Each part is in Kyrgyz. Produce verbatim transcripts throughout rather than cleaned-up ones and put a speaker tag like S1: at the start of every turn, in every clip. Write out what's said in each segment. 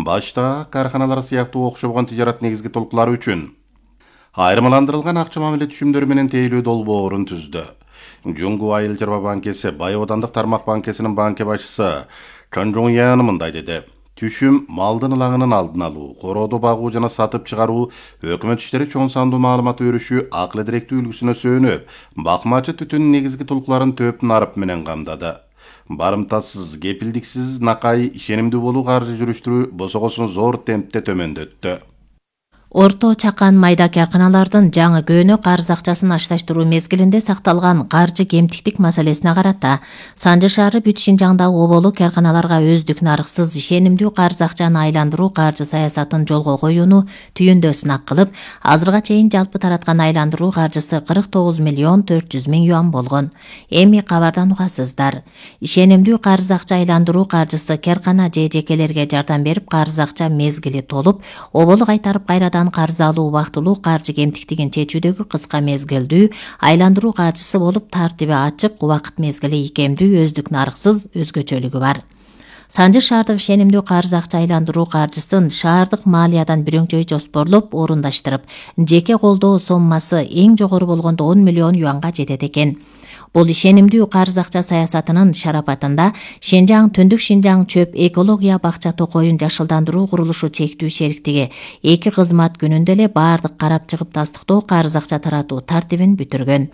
S1: башта карханалар сыяктуу окшобгон тижарат негизги толкулары үчүн айырмаландырылган акча мамиле түшүмдөрү менен тейлүү долбоорун түздү. Жунгу Айыл Чарба банкеси Бай Оодандык тармак банкесинин банке башчысы Чон Жун Ян мындай деди. Түшүм малдын ылагынын алдын алуу, корооду багуу жана сатып чыгаруу өкмөт иштери чоң сандуу маалымат өрүшү акыл эдиректүү үлгүсүнө сөөнүп, бакмачы түтүн негизги толкуларын төп нарып менен камдады. Барымтасыз, кепилдиксиз накай ишенимдүү болуу каржы жүрүштүрүү босогосун зор темпте төмөндөттү.
S2: Орто чакан майда карканалардын жаңы көөнө карыз акчасын ашташтыруу мезгилинде сакталган каржы кемтиктик маселесине карата Санжы шаары бүт Шинжаңдагы оболу карканаларга өздүк нарыксыз ишенимдүү карыз акчаны айландыруу каржы саясатын жолго коюуну түйүндө сынак кылып, азырга чейин жалпы тараткан айландыруу каржысы кырк тогуз миллион төрт жүз миң юан болгон. Эми кабардан угасыздар. Ишенимдүү карыз акча айландыруу каржысы каркана же жекелерге жардам берип, карыз акча мезгили толуп, оболу кайтарып кайрадан карыз алуу убактылуу каржы кемтиктигин чечүүдөгү кыска мезгилдүү айландыруу каржысы болуп, тартиби ачык, убакыт мезгили ийкемдүү, өздүк нарыксыз өзгөчөлүгү бар. Санжы шаардык ишенимдүү карыз акча айландыруу каржысын шаардык маалиядан бирөңчөй жоспорлоп орундаштырып, жеке колдоо соммасы эң жогору болгондо он миллион юанга жетет экен. Бул ишенимдүү карыз акча саясатынын шарапатында Шинжаң Түндүк Шинжаң чөп экология бакча токоюн жашылдандыруу курулушу чектүү шериктиги эки кызмат күнүндө эле баардык карап чыгып тастыктоо карыз акча таратуу тартибин бүтүргөн.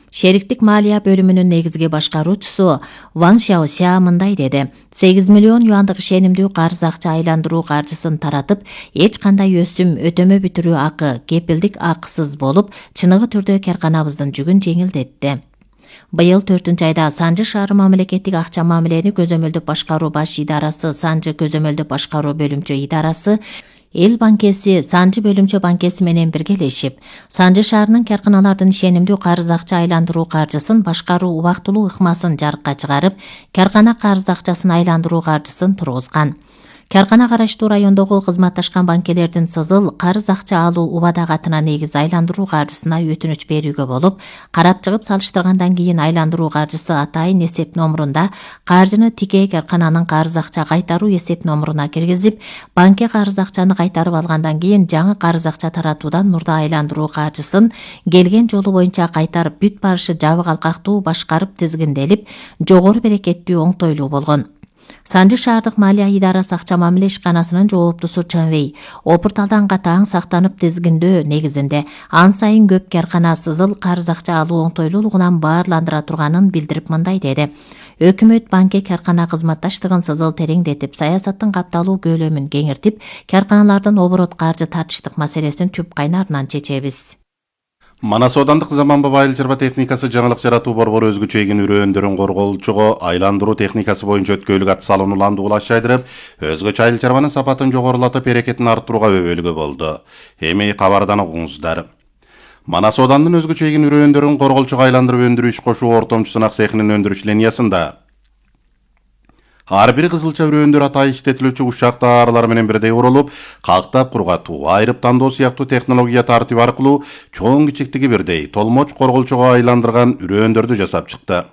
S2: Шериктик маалия бөлүмүнүн негизги башкаруучусу Ван Сяося мындай деди. сегиз миллион юандык ишенимдүү карыз акча айландыруу каржысын таратып, эч кандай өсүм, өтөмө бүтүрүү акы, кепилдик акысыз болуп, чыныгы түрдө карканабыздын жүгүн жеңилдетти. Быйыл төртүнчү айда Санжы шаары мамлекеттик акча мамилени көзөмөлдөп башкаруу баш идарасы, Санжы көзөмөлдөп башкаруу бөлүмчө идарасы, Эл банкеси, Санжы бөлүмчө банкеси менен биргелешип, Санжы шаарынын карканалардын ишенимдүү карыз акча айландыруу каржысын башкаруу убактылуу ыкмасын жарыкка чыгарып, каркана карыз акчасын айландыруу каржысын тургузган. Каркана караштуу райондогу кызматташкан банкелердин сызыл карыз акча алуу убада катына негиз айландыруу каржысына өтүнүч берүүгө болуп, карап чыгып салыштыргандан кийин айландыруу каржысы атайын эсеп номурунда каржыны тикей каркананын карыз акча кайтаруу эсеп номуруна киргизип, банке карыз акчаны кайтарып алгандан кийин жаңы карыз акча таратуудан мурда айландыруу каржысын келген жолу боюнча кайтарып бүт барышы жабык алкактуу башкарып тизгинделип, жогору берекеттүү оңтойлуу болгон. Санжы шаардык маалия идарасы акча мамиле ишканасынын жооптусу Чон Вэй опурталдан катаң сактанып тизгиндөө негизинде ан сайын көп каркана сызыл карыз акча алуу оңтойлуулугунан баарландыра турганын билдирип мындай деди. Өкмөт банке каркана кызматташтыгын сызыл тереңдетип, саясаттын капталуу көлөмүн кеңиртип, карканалардын оборот каржы тартыштык маселесин түп кайнарынан чечебиз.
S1: Манас Оодандык Заманбап Айыл Чарба техникасы жаңылык жаратуу борбору өзгөчө эгин үрөөндөрүн корголчуго айландыруу техникасы боюнча өткөйлүк ат салууну улаш айдырып, өзгөчө айыл чарбанын сапатын жогорулатып, берекетин арттырууга өбөлгө болду. Эми кабардан угуңуздар. Манас Оодандын өзгөчө эгин үрөөндөрүн корголчуга айландырып өндүрүү иш кошуу ортомчу сынак цехинин өндүрүш линиясында ар бир кызылча үрөөндөр атайын иштетилүүчү ушак тааралар менен бирдей урулуп, кактап кургатуу, айрып тандоо сыяктуу технология тартиби аркылуу чоң кичиктиги бирдей толмоч корголчуга айландырган үрөөндөрдү жасап чыкты.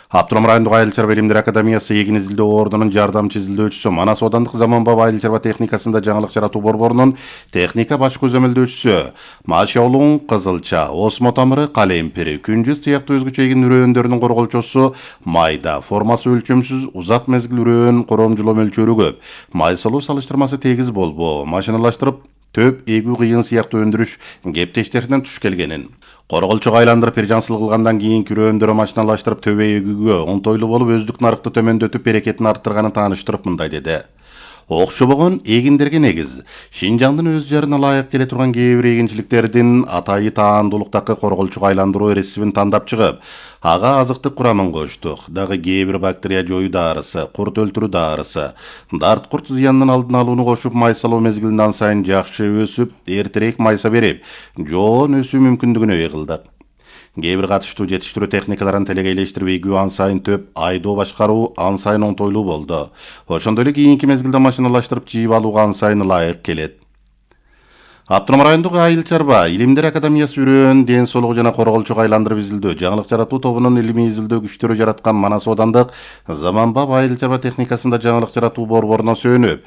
S1: Аптырам райондук Айыл Чарба илимдер академиясы эгин изилдөө ордунун жардамчы изилдөөчүсү, Манас Оодандык Заманбап Айыл Чарба техникасында жаңылык жаратуу борборунун техника баш көзөмөлдөөчүсү Машаулуң кызылча, осмо тамыры, калемпири, күнжүт сыяктуу өзгөчө эгин үрөөндөрүнүн корголчосу майда, формасы өлчөмсүз, узак мезгил үрөөн коромжулоо мөлчөрү көп, майсалуу салыштырмасы тегиз болбоо, машиналаштырып төп эгүү кыйын сыяктуу өндүрүш кептештеринен туш келгенин, корголчуга айландырып биржансыл кылгандан кийин үрөөндөрү машиналаштырып төбө эгүүгө оңтойлуу болуп, өздүк нарыкты төмөндөтүп, берекетин арттырганын тааныштырып мындай деди. Окшобогон эгиндерге негиз Шинжаңдын өз жарына ылайык келе турган кээ бир эгинчиликтердин атайы таандуулуктагы корголчуга айландыруу рецептин тандап чыгып, ага азыктык курамын коштук. Дагы кээ бир бактерия жоюу даарысы, курт өлтүрүү даарысы, дарт курт зыянынын алдын алууну кошуп, майсалоо мезгилинен сайын жакшы өсүп, эртерээк майса берип, жоон өсүү мүмкүндүгүнө ээ кылдык. Кээ бир катыштуу жетиштирүү техникаларын телегейлештирип, эгүү ан сайын төп айдоо башкаруу ан сайын оңтойлуу болду. Ошондой эле кийинки мезгилде машиналаштырып жыйып алууга ан сайын ылайык келет. Аптырам райондук Айыл Чарба илимдер академиясы үрөөн, ден соолугу жана корголчуга айландырып изилдөө, жаңылык жаратуу тобунун илимий изилдөө күчтөрү жараткан Манас Оодандык Заманбап Айыл Чарба техникасында жаңылык жаратуу борборуна сөөнүп,